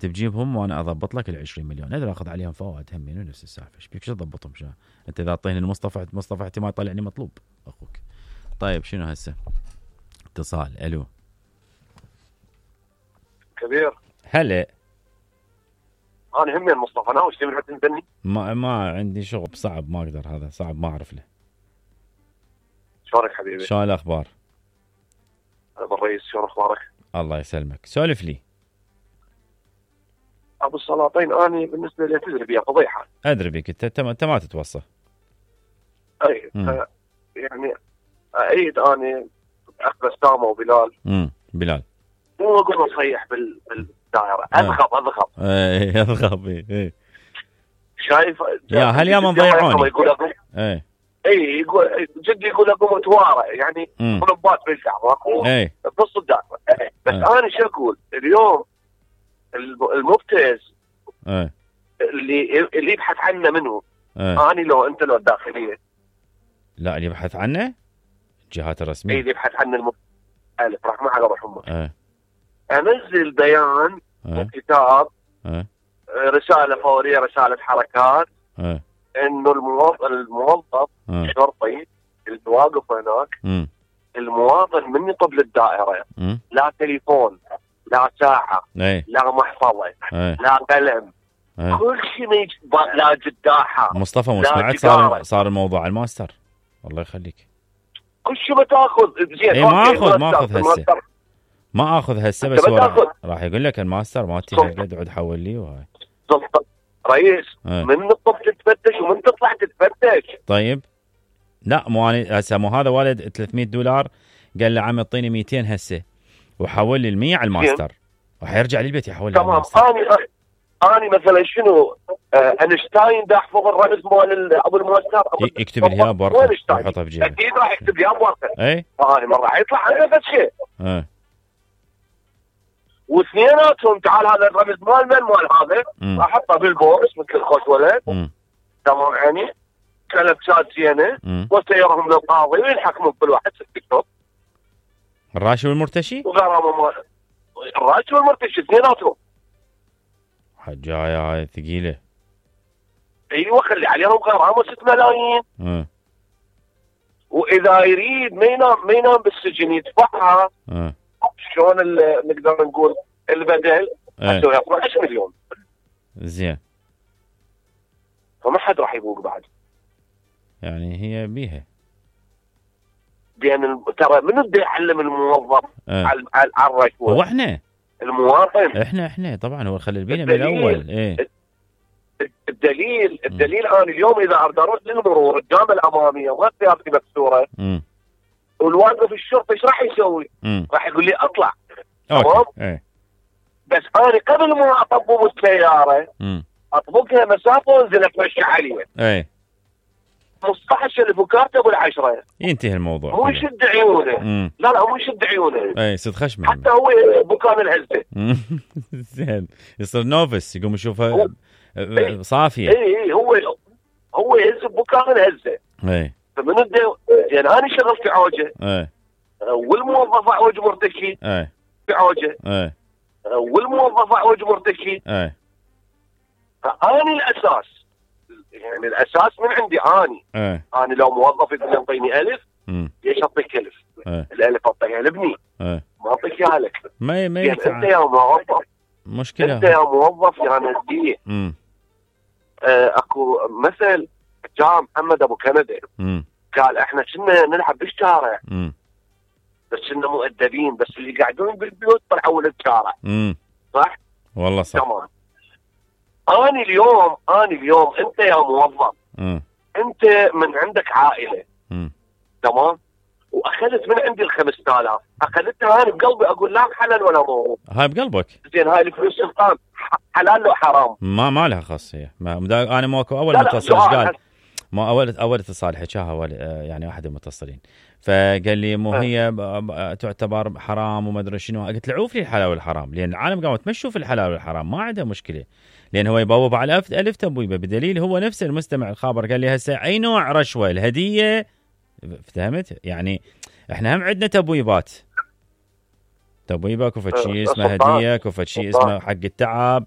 انت بجيبهم وانا اضبط لك ال20 مليون، اقدر اخذ عليهم فوائد همين نفس السالفه. ايش بيك شو تضبطهم؟ شو انت اذا اعطيني مصطفى احتمال يطلعني مطلوب اخوك. طيب شنو هسه؟ اتصال. الو كبير. هلا. انا همين مصطفى ناوي تبي حد تنبني؟ ما عندي شغل صعب، ما اقدر، هذا صعب ما اعرف له. شلونك حبيبي؟ شلون الاخبار؟ ابو الرئيس شلون اخبارك؟ الله يسلمك. سولف لي. ابو السلاطين اني بالنسبه لي تدري بيها فضيحه. ادري بك انت ما تتوصى. اي يعني ايد اني اخ بسامه وبلال. بلال مو اقول اصيح بالدائره، اضغب اي اضغب. اي شايف يا هل يا من ضيعوني. يقول اي يقول جدي يقول اقوم اتوارى يعني طلبات بالشعب بنص الدائره. بس انا شو اقول اليوم المبتز اللي يبحث عنه منه. اني لو انت لو الداخليه لا اللي يبحث عنه الجهات الرسميه. اي اللي يبحث عنه رحمه على روحهم. انزل بيان وكتاب رساله فوريه رساله حركات انه الموظف الشرطي اللي واقف هناك المواطن من يطب للدائره لا تليفون لا ساعه لا محفظه لا قلم كل شيء ما يجي لا جداحه. مصطفى مو سمعت صار الموضوع الماستر الله يخليك كل شيء بتاخذ زين. ما اخذ هسه بس راح يقول لك الماستر مالتي هالقد عد حول لي وهاي رئيس من الطب تتفتش ومن تطلع تتفتش. طيب لا مو انا هسه مو هذا والد $300 قال له عم يعطيني 200 هسه وحول لي 100 على الماستر وحيرجع لي البيت يحول لي تمام. اني مثلا شنو اينشتاين دا احفظ الرمز مال ابو الماستر يكتب لي اياه بورقه ويحطها بجيبه. اكيد راح يكتب لي اياه بورقه. اي هاي مره حيطلع عنه بس شيء. واثنيناتهم تعال هذا الرمز مال هذا راح احطه بالبوكس مثل خوش ولد. تمام يعني كلبسات زينه وسيرهم للقاضي وينحكمون كل واحد 6 شهور. الراشي والمرتشي؟ وغرامه مال الراشي والمرتشي اثنيناتهم. حجايه هاي ثقيله. ايوه خلي عليهم غرامه 6 ملايين. واذا يريد ما ينام بالسجن يدفعها. شلون نقدر نقول البدل اسوي 12 مليون. زين. فما حد راح يبوق بعد. يعني هي بيها. لان ترى من بده يعلم الموظف على الرشوه؟ هو احنا المواطن. احنا طبعا هو خلي البينا من الاول. الدليل انا اليوم اذا اريد اروح للمرور قدام الاماميه وما سيارتي مكسوره والواقف الشرطه ايش راح يسوي؟ راح يقول لي اطلع. تمام. بس انا قبل ما اطبق السياره اطبقها مسافه وانزل اتمشى عليها. 15,000 وكاتب ال10 ينتهي الموضوع. مو يشد عيونه. لا مو يشد عيونه. صد خشمه حتى هو بكان الهزه. زين يصير نوفس يقوم يشوفها صافيه. هو يهز بكان الهزه. فمن يعني انا شغلت في عوجه. والموظف عوج مرتشي. في عوجه. والموظف عوج مرتشي. فاني الاساس يعني الاساس من عندي اني. انا لو موظف يقول لي اعطيني 1000 ليش اعطيك 1000؟ ال1000 اعطيها لابني ما اعطيك اياها لك. ما يعني انت يا موظف مشكله. انت يا موظف يا نديه. اكو مثل جاء محمد ابو كندا قال احنا كنا نلعب بالشارع بس كنا مؤدبين بس اللي قاعدون بالبيوت طلعوا للشارع. صح؟ والله صح. تمام. اني اليوم انت يا موظف انت من عندك عائله. تمام. واخذت من عندي ال5000 اخذتها انا بقلبي اقول لا حلال ولا مو. هاي بقلبك. زين هاي الفلوس سلطان حلال لو حرام؟ ما لها خاصيه. انا ماكو اول متصل قال ما اول اتصال حكاها يعني واحد المتصلين فقال لي مو هي تعتبر حرام وما ادري شنو. قلت له عوف لي الحلال والحرام لان العالم قامت تمشوا في الحلال والحرام ما عنده مشكله لان هو يبوب على ألف تبويبه بدليل هو نفس المستمع الخابر قال لي هسه اي نوع رشوه الهديه فهمت يعني احنا هم عندنا تبويبات. تبويبه كفت شيء اسمه هديه كفت شيء اسمه حق التعب